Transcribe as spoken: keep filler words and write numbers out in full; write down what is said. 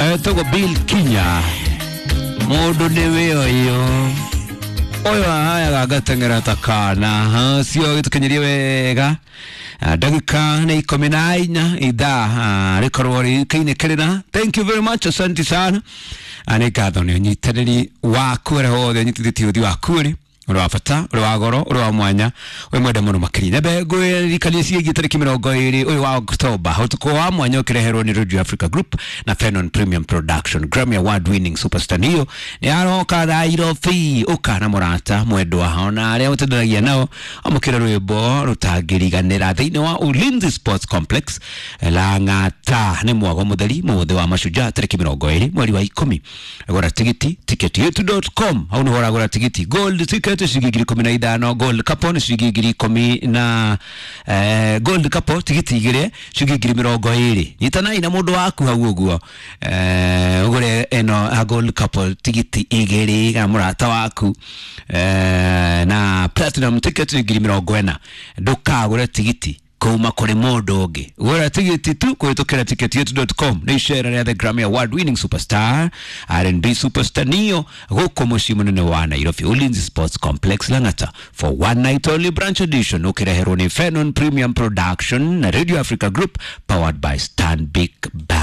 Etagwo Bill Kinya. Mũndũ nĩ wĩoyo ũyũ ahayaga ngateng'era ta kana cio gĩtũkinyirie wega. Ah, ndagĩka nĩ ikũmi na inya ithaa ah, rĩkorwo rĩkaine kĩrĩra. Thank you very much, asante sana. Ah, nĩ ngatho nĩ ũnyitanĩri waku ũrĩa wothe ũnyitithĩtie ũthi waku ũrĩ ũrĩ wa bata, ũrĩ wa goro, ũrĩ wa mwanya, wĩ mwende mũno makĩria. Nyambe ngwĩririkanie ciĩgiĩ tarĩki mĩrongo ĩrĩ ũyũ wa Oktoba, ũtukũ wa mwanya ũkĩreherwo nĩ Radio Africa Group na Fenon Premium Production. Grammy Award winning superstar Neo nĩ aroka Nairobi. Ũka na mũrata mwendwa ona arĩa ũtendanagia nao, amũkĩre rwĩmbo rũtangĩriganĩra thĩinĩ wa Ulinzi Sports Complex Lang'ata. Nĩ mwago mũtheri mũthĩ wa mashujaa tarĩki mĩrongo ĩrĩ mweri wa ikũmi. Gũra tigiti ticket yetu dot com, hau nĩho ũragũra tigiti. Gold ticket ciringi ngiri ikũmi na ithano, gold couple nĩ ciringi ngiri ikũmi na eh, gold couple tigiti igĩrĩ ciringi ngiri mĩrongo ĩrĩ. Nyitanai na mũndũ waku hau ũguo, eh, ũgũre ĩno a gold couple tigiti igĩrĩ kana mũrata waku, eh, na platinum ticket nĩ ngiri mĩrongo ĩna. Ndũkagũre tigiti kuma kũrĩ mũndũ ũngĩ, gũra tigiti tu kũhĩtũkĩra ticket yetu dot com. Nĩ icera rĩa the Grammy Award winning superstar, R and B superstar Neo, gũkũ mũciĩ mũnene wa Nairobi, Ulinzi Sports Complex Lang'ata, for one night only branch edition, ũkĩreherwo nĩ Fenon Premium Production na Radio Africa Group, powered by Stanbic Bank.